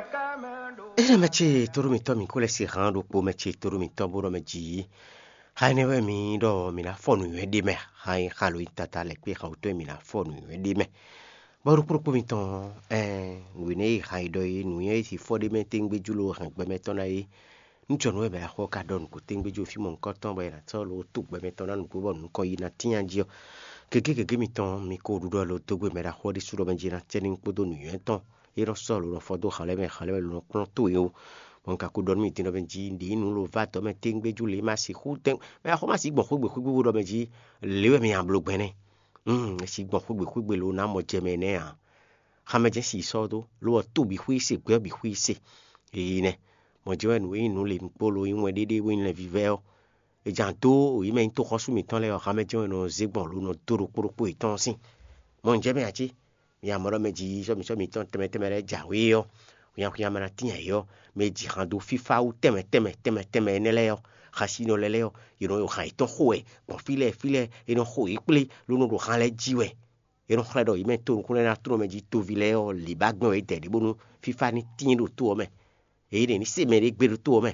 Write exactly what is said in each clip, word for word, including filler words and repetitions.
Énɛ́ mɛ ce tóɖó mǐtɔn mǐ kó lɛ́ se hǎn ɖokpó mɛ ce tóɖó mǐtɔn bó ɖɔ mɛ jǐ. Xa énɛ́ wɛ mǐ ɖɔ mǐ ná fɔ nǔnywɛ́ ɖé mɛ, xa nyí xa lo nyí tata lɛ̌ kpé xa wútɔ́ mǐ ná fɔ nǔnywɛ́ ɖé mɛ. Bɔ ɖokpó ɖokpó mitɔn, ɛɛ, nǔ énɛ́ e xa yi ɖɔ é, nǔnywɛ́ e si fɔ ɖé mɛ téŋgbéjú lo hɛn gbɛ mɛ tɔn ná é, nú jɔnǔ wɛ mɛ axɔ ka ɖɔ nǔ ko téŋgbéjú fí mɔ̌hunkɔtɔn bɔ è nǎ sɔ́ lo tó gbɛ mɛ tɔn ná nǔgbó bɔ nǔ nukɔn yi ná tínnya jí ɔ́, gěgé gěgé mitɔn mi ko ɖuɖɔ lo dó gbe mɛ ɖaxó ɔ́ ɖésú ɖɔ mɛ jí ná cɛ ní kpódó nǔnywɛ́ tɔn é nɔ sɔ́ lo nɔ fɔ dó xalɛ́ mɛ, xalɛ́ mɛ lo nɔ kplɔ́n towe ó. Bɔ un ka ko ɖɔ nú mi din ɖɔ mɛ jí ɖě nǔ lo va dɔ̌ mɛ téŋgbéjú lě ma sixú tɛn mɛ axɔ ma sixú gbɔn xwé gbe xwé gbígbó ɖɔ mɛ jí lě wɛ mi nyi ablo gbɛn nɛ́. Mm, é sixú gbɔn xwé gbe xwé gbe lo ná mɔ jɛ mɛ nɛ́ ǎ. Xamɛ jɛ́n si sɔ́ dó, lo ɔ́, to bǐ xwé se, gbɛ́ bǐ xwé se. Eyi nɛ. Mɔ̌ jɛ́n wɛ nǔ e nyí nǔ lě ɖokpó lo nyí wɛn ɖéɖé bó nyí lɛnvívɛ́ ɔ́, è jǎn dó yě mɛ nyí toxɔ́sú mǐtɔn lɛ́ɛ ɔ́, xamɛ jɛ́n wɛ è nɔ zé gbɔn lo nɔ dó ɖokpó ɖokpó yětɔn sín. Mɔ̌ un jɛ mɛ ǎ cé? Mi amɔ̌ ɖɔ mɛ jí sɔ́ mǐ sɔ́ mǐtɔn tɛnmɛ tɛnmɛ lɛ́ɛ jǎwe ɔ́, hunnyahunnya mɛ ná tín ayǐ ɔ́, mɛ e ji han dó fífá wú tɛnmɛ tɛnmɛ tɛnmɛ tɛnmɛ énɛ́ lɛ́ɛ ɔ́, xasinɔ lɛ́ɛ lɛ́ɛ ɔ́, yě nɔ ɖo han yětɔn xo wɛ gbɔn fí lɛ́ɛ fí lɛ́ɛ, è nɔ xo yě kplé ló nɔ ɖo han lɛ́ɛ jí wɛ. È nɔ xlɛ́ ɖɔ yě mɛ to nukúnnú ná tló mɛ jí toví lɛ́ɛ ɔ́, lě ba gbɛn wɛ é dɛ ɖě bónú fífá ní tíin ɖo to ɔ́ mɛ. Èyí ɖě ní se mɛ ɖé gbé ɖó to ɔ́ mɛ.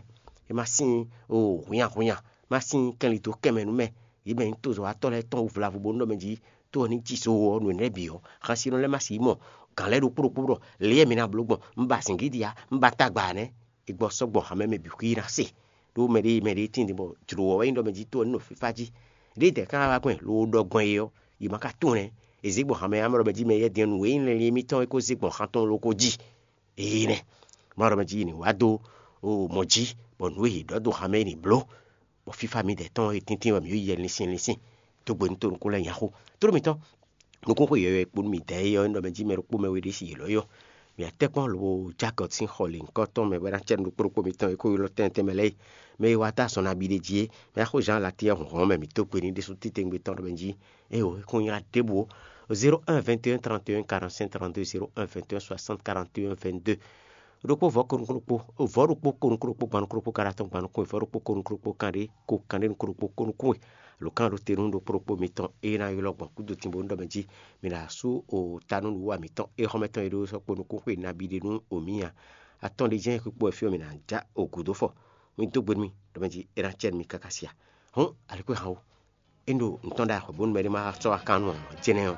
É má sín o hunnyahunnya, má sín kɛnlidó kɛnmɛ nú mɛ. Yě mɛ nyí tozɔ́watɔ́ lɛ́ɛ tɔn wú vlavo bónú ɖɔ mɛ jí to ɔ́ ní ji so ɔ́ nǔ énɛ́ bǐ ɔ́, xasinɔ lɛ́ɛ má sixú mɔ gǎn lɛ́ɛ ɖokpó ɖokpó ɖɔ lě e mi ná bló gbɔn, un ba zǐngídi ǎ, un ba tagba ǎ nɛ́. È gbɔ sɔ́ gbɔn hamɛ mɛ bǐ xwí ná se. Ɖó mɛ ɖé mɛ ɖé tíin din bɔ jlǒ ɔ́ wɛ nyí ɖɔ mɛ jí to ɔ́ ní nɔ fífá jí. Ɖěe dɛ̌ ká wá gbɔn loo ɖɔ gbɔn é ɔ́, yě ma ka tunwun nɛ́. È zě gbɔn hamɛ amɛ ɖɔ mɛ jí mɛ yɛ́ din nǔ e nyí lɛnlin émítɔn é kó zé gbɔn xan tɔn ló kó ji. Éyɛ́ nɛ́. Má ɖɔ mɛ jí yě ní wá dó o mɔ̌ jí, bɔ nǔ e yě ɖɔ dó hamɛ é ní bló, bɔ fífá mi dɛ̌ tɔn e tíntín wɛ mǐ yi yɛ linsin linsin. Dó gbe nú to nukún lɛ́ɛ nyaxó. Tló mitɔn, nukúnxwe yɔ̌yɔ́ e kpo nú mǐ dɛ̌ é ɔ́, é nɔ mɛ jí mɛ ɖokpó mɛ we ɖé si yě lɔ́ yɔ. Mǐ atɛ́kpɔ́n lobo Jakɔt sín xɔ lěhunkɔtɔn mɛ wɛ ná cɛ nú ɖokpó ɖokpó mitɔn e ko ylɔ́ tɛntɛn mɛ lɛ́ɛ é. Mɛ e wa dó azɔn nabí ɖé jí é, mɛ axó Zan Latíɛ hɔnhɔn mɛ mǐ dó gbe ní ɖésú titewungbe tɔn ɖɔ mɛ jí. Éyo, é kún nylá ɖěbǔ ó. Zéro un vingt et un trente et un quarante-cinq trente-deux, zéro un vingt et un soixante quarante et un vingt-deux. Ɖokpó vɔ̌ ko nukún ɖokpó, vɔ̌ ɖokpó ko nukún ɖokpó gban nukún ɖokpó ka ɖo atɔn gban nukún, vɔ̌ ɖokpó ko nukún ɖokpó kanɖé ko kanɖé nukún ɖokpó ko nukún we. Lǒ kan ɖo te nú ɖokpó ɖokpó mitɔn e ná ylɔ́ gbɔn kúdotínbó nú ɖɔ mɛ jí mi ná sú o ta nú nǔwiwa mǐtɔn e xɔ́mɛ tɔn e ɖó sɔ́ kpo nukún xwe nabí ɖé nú o mǐ nya. Atɔn ɖé jɛ́n xwikpó wɛ fí ɔ́ mǐ ná já o gǔdo fɔ. Mi dó gbe nú mì ɖɔ mɛ jí é ná cɛ nú mi káká sia. Hɔn, alixwéhan ó, é ɖo nǔ tɔn ɖo axɔ̌ bónú mɛ ɖé ma sɔ́ wá kan nú ǎ, jɛnɛ ɔ́,